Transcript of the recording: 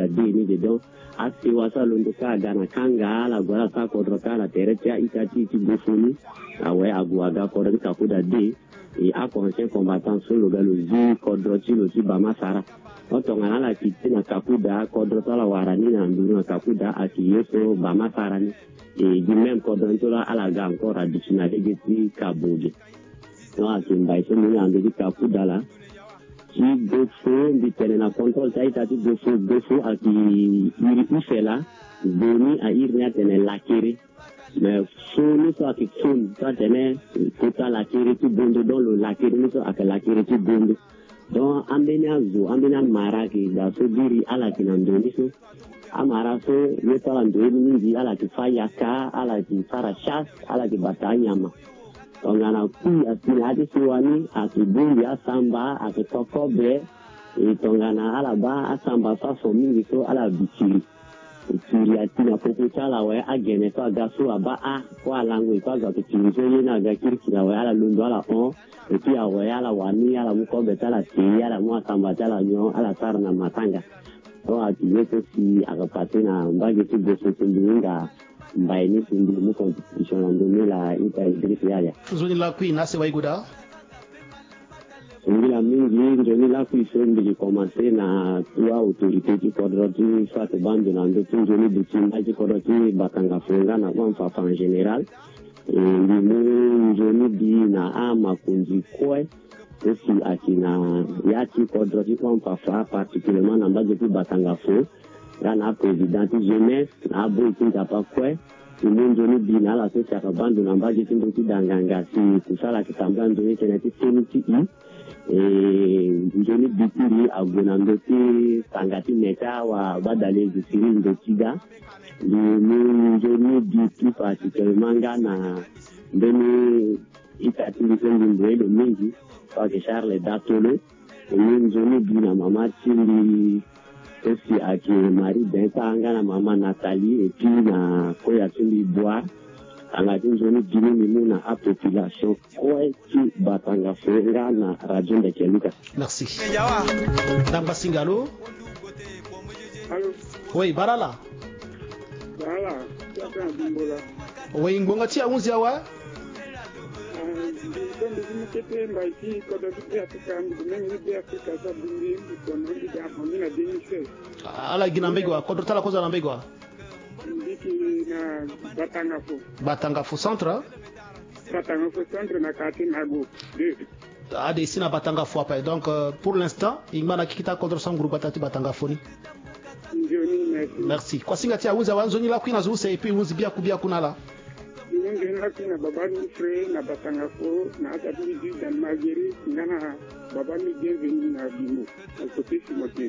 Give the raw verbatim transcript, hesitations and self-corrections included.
de ni de. Donc asewa so alondo kâ aga na kanga ala gue ala sara kodro kâ na tere ti a-ita ti e ti Gofo ni. Awe, ague aga kodro ti Kakuda de. E ako ancien combattant so lo ga lo zi kodro ti lo ti Bamasara. Tongana ala kiti na Kakuda, kodro so ala wara ni na nduru na Kakuda ayeke ye so Bamasara ni. E du même kodro ni so laa ala ga encore aduti na lege ti Kaboge. Donc ayeke mbai so mbi ni na ndö ti Kakuda laa. Ti Gofo, mbi tene na contrôle ti a-ita ti Gofo. Gofo ayeke iri use laa. Goni a iri ni atene lakere. Mais fo ni so ayeke fo ni so atene kota lakere ti Bondo, donc lo lakere ni so ayeke lakere ti Bondo. Donc ambeni azo, ambeni amara ayeke ga so biri ala yeke na ndo ni so. Amara so ye so ala ndoye ni mingi, ala yeke fâ yaka, ala yeke sara chasse, ala yeke bata anyama. Tongana kui asi na ya ti sewa ni, ayeke bongbi asamba, ayeke to kobe. E tongana ala baa asamba so aso mingi so ala bi kiri. Kiri ati na popo ti ala awe, agene so aga so abaa a, kue alango e kue azo ayeke kiri so ye ni aga kirikiri awe, ala londo ala hon. Et puis awe ala wani, ala mu kobe ti ala te, ala mu asamba ti ala nyon, ala sara na matanga. Donc ayeke ye so si ayeke pase na mbage ti Gofo so mbi hinga mbai ni si mbi mu contribution na ndö ni laa, ita Idriss Yaya. Nzoni lakui na asewa e gue daa. Singila mingi. Nzoni lakui so mbi yeke commencer na trois autorités ti kodro ti so ayeke baa ndo na ndö ti nzoni bi ti mbai ti kodro ti Batanga Fo nga na Houphouët-Boigny en général. E, mbi mu nzoni bi na amakonzi kue so si ayeke na ya ti kodro ti Houphouët-Boigny, particulièrement na mbage ti Batanga Fo, nga na aprésident ti jeunesse, na aboi ti Nzapa kue. Mbi mu nzoni bi na ala so si ayeke baa ndo na mbage ti ndö ti danganga si kusala ayeke tambula nzoni tënë ti seni ti i. E, nzoni bi ti mbi ague na ndö ti tanga ti me ti awabadale Cyril Ndotida. Mbi mu nzoni bi plus particulièrement nga na mbeni ita ti mbi so mbi mboye lo mingi, so ayeke Charles Datolo. Mbi mu nzoni bi na mama ti mbi so si ayeke Marie Benta nga na mama Nathalie, et puis na koya ti mbi Boire. Tanga ti nzoni bi ni mbi mu na apopulation kue ti Batanga Fo nga na Radio Ndeke Luka. Merci. Ndangba Singa, allô? Allô? Oui, bara ala. Bara ala, ti aka na Bimbola. Oui, ngbonga ti ahunzi awe? Ah, mbi so mbi ti mu kete mbai ti kodro ti Beafrika, mbi gue menge ti Beafrika so abongbi mbi kono mbi ga abongbi na deux mille seize. Ala gi na mbage wa, kodro ti ala kozo na mbage wa? Mbi yeke na Batanga Fo. Batanga Fo centre? Batanga Fo centre na quartier Nago deux. Ade, e si na Batanga Fo ape. Donc, euh, pour l'instant, e ngba na kikita kodro sanguru gbata ti Batanga Fo ni. Nzoni, merci. Merci. Kuasinga ti ahunzi awe, nzoni lakui na zo use, et puis hunzi biaku biaku na ala. Nzoni lakui na baba Nufre na Batanga Fo, na ata ti mbi Jude Marguerite, nga na baba mbi Bienvenu na Bimbo, na côté Timothée.